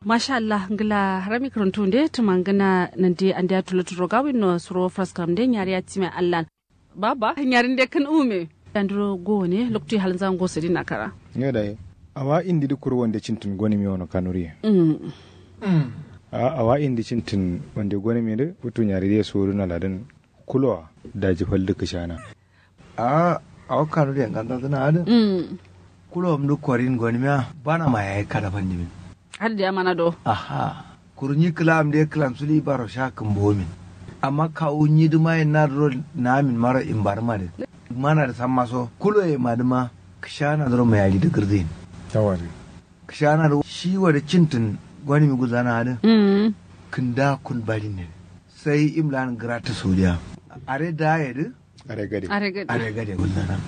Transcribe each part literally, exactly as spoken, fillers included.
Masha allah ngla harami kǝrǝntu nde tǝmangǝna nande andeya tuloturo gawinno suro fraskam nde nyariya time allan. Baba nyarin de kǝn ume. Yandiro gone loktu ye halnza ngo sǝdin nakara. Nge dai. Awa indi dǝ kuru wande cintǝn gonǝm ye wono kanuri ye. Awa indi cintǝn wande gonǝm ye dǝ futu nyari de sodǝna ladǝn. Kulowa daji fal dǝ kǝshana. A'a awo kanuri ye nganza dǝna adǝ. Kulowom dǝ korin gonǝm ya bana ma yayi kada fandimin. Adǝ diya mana do. Aha. Kuru nyi kǝla am dǝ ye kǝlam suli baro sha kǝmbomin. Amma kawu nyi dǝma ye nadǝ ro naamin maro imbarǝma dǝ. Mana dǝ samma so kulo ye madǝma kǝshana dǝ ro mayari dǝ gǝrzain. Kǝshana dǝ shi wadǝ cintǝn gonǝmi gulzana adǝ. Kǝnda kun barin ne dǝ sai imlan gratǝ saudiya. Are da ye dǝ. Are gade. Are gade gulzana.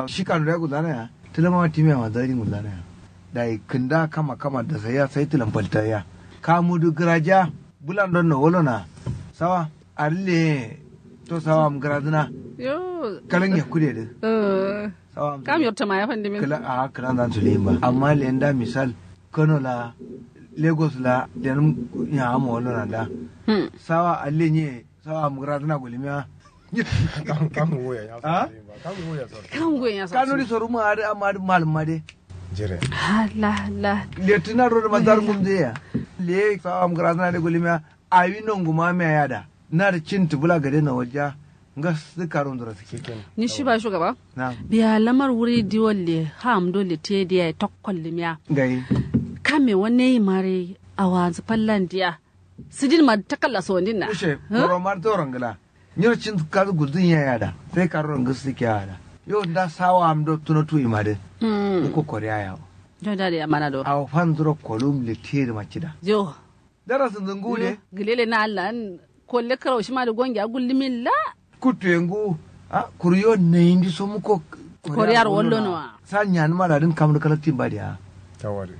Shi kanuri ya gulzana ya tǝlama timiya ma zarin gulzana ya. Dai kǝnda kama kama da sai ya sai tǝlam falta ya. Kamu dǝ gǝraja. Bulan don no wolo na. Sawa. Arle to sawa am gǝrazǝna. Yo. Kalan ya kude dǝ. Sawa am kam yorta ma ya fandimi. Kala a kalan zan sule ba amma lenda misal kano la lagos la lenum ya amo wolo na da. Sawa arle nye. Sawa am gǝrazǝna gulimiya. Kam kam wuya ya. Kam wuya so. Kanuri soru ma adǝ amma adǝ malum ma de. Jire. Hala hala. Letina ro da mazar gumze ya. Le sawa am gǝrazǝna de gulimiya. Awi nonguma miya yada. Nadǝ cintǝ bula gade na walja. Ngas dǝ karun dura sike. Ni shi ba shugaba. Biya lamar wuri diwalle ham dole te diya tokkol limiya. Ngai. Kame wane mare awanzu fallan diya. Sǝdin ma takalla sondin na. Ushe. Boro mar toro ngla. Nyiro cin kazu gulzin ya yada sai karoro ngǝsu kiya yada. Yo nda sawa am do tuno tuyi ma dǝ. Uko koriya yawo. Yo da da ya mana do. Awo fan zuro kolum le tiyedi ma cida. Yo. Darasin zungu de. Gilele na allan. Kolle karau shima dǝ gongi a gullumin la. Kuttu ye ngu. A kuru yo nayindi so muko. Koriyar wallo no wa. Sa nyanuma da dǝn kam dǝ kalaktin ba diya. Tawari.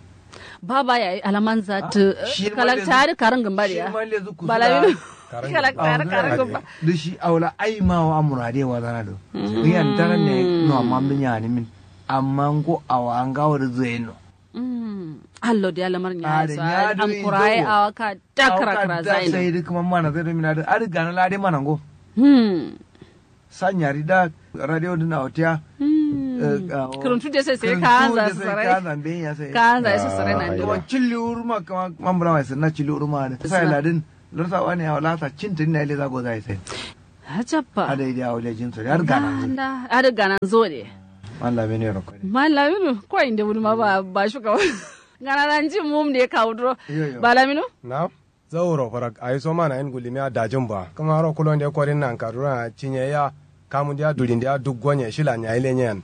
Baba yayi alaman zatǝ. Kalakta dǝ karǝngǝm ba diya. Bala wino. Kalakta dǝ karǝngǝm ba. Dǝ shi awo la aima wa murade wazana do. Ngiyan taran ne no amma mdǝ nyanimin. Amma ngo awo angawo dǝ zǝyen no. Allo diya lamar nyaya so. Am kuraye awo ka da kara kara zayin. Sai dǝ kǝma mana zai do mina dǝ adǝ gana la dai mana ngo. Sa nyari da radio dǝ na otiya. Kǝrǝntu de sai sai kaanza sarai. Kaanza ya sarai nan dǝ cilli wuruma kǝma mambura mai sirna cilli wuruma adǝ sai ladin. Lorsa wani ya wala sa cintǝn na ile za goza ya sai. Hajabba. Adai dia wule jin so har ganan zu. Adai ganan zo de. Mallaminu yaro kare. Mallaminu ko inde wuni ma ba ba shuka. Gana nan jin mum de ka wudro. Mallaminu. Na'am. Zauro farak ayi so mana in gulimi a dajin ba kuma ro kulon de korin nan kadura cinye ya. Kamun dia durin dia duk gonye shila nya ile nyen.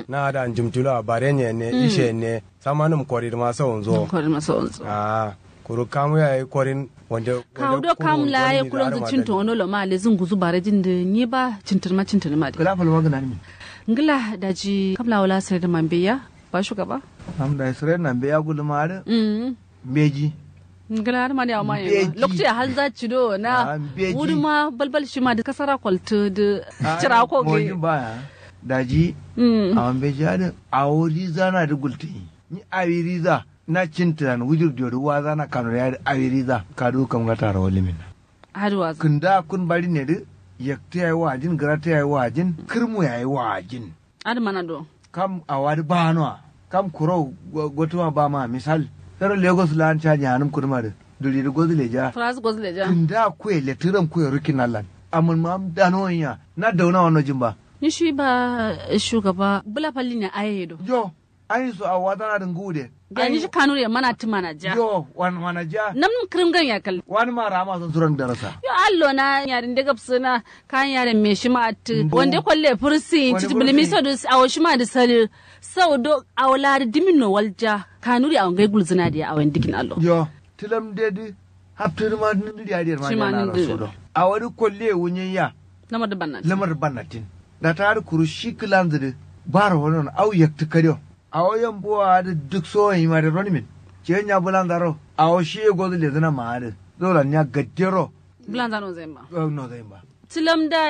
Na ada njumtulo a bare nye ne ishe ne. Samanǝm koridǝma sawonzo. Koridǝma sawonzo. Ahh kuru kamu yayi korin wande. Kawu do kamu la ye kulonzǝ cinto wono lo ma lezǝ nguzu barajin dǝ nyi ba cintǝnǝma cintǝnǝma dǝ. Kǝla falma gǝnanǝmin. Ngla daji kam la wala sǝredǝma mbeya. Ba shugaba. Am dayi sǝredǝma mbeya gulǝma adǝ. Mbeji. Ngla adǝ ma dǝ yawu ma yeno loktu ya halza cido na. Wudǝma balbal shima dǝ kasara koltǝ dǝ. Cira ko gǝ. Daji. Awo mbeji adǝ awo riza na dǝ gultǝ nyi. Nyi awi riza na cintǝ lan wujur diyo dǝ waza na kano ya dǝ awi riza kadu kam ngata rawalǝmin. Adǝ waza kǝnda kun bari ne dǝ. Yaktǝ yayi wajin gǝratǝ yayi wajin kǝrmu yayi wajin. Adǝ mana do. Kam awa dǝ banowa kam kuro gotuma bama misal. Fero lagos lan ca nyanǝm kuduma dǝ duri dǝ gozǝ leja. Fras gozǝ leja. Kǝnda kuye letǝram kuye rukin allan. Amǝn ma am danowan ya na dauna wano jin ba. Nyi shi ba shugaba bula falli ne aye do. Yo. Ayin so awo wazana dǝ nguwu de. Biya nyi shi kanuri ye mana tǝ mana ja. Yo wani mana ja. Namnǝm kǝrǝm gan yakal. Wani ma rama son suran darasa. Yo allo na nyari nde gabsǝna. Kan yaren me shima attǝ wande kolle fǝrǝsǝ yin citǝ bǝlǝmi sau dǝ awo shima dǝ salǝ. Sau do awo la dǝ dǝmin no walja. Kanuri awo ngai gulzǝna diya awo yen dǝkin allo. Yo. Tǝlam de dǝ haptǝ dǝ ma nǝndǝri adǝ yer ma nǝndǝri adǝ yer ma nǝndǝri. Awo dǝ kolle ye wunyen ya. Lamar dǝ bannatin. Lamar dǝ bannatin. Data adǝ kuru shi kǝlanzǝ dǝ baro wano no au yaktǝ kadio. Awo yambuwa adǝ duk sowo yima dǝ ronǝmin. Ciyen nya bǝlanza ro awo shiye gozǝ lezǝna ma adǝ. Zolan nya gaddero. Bǝlanza nozǝ yen ba. Nozǝ yen ba. Tǝlam da.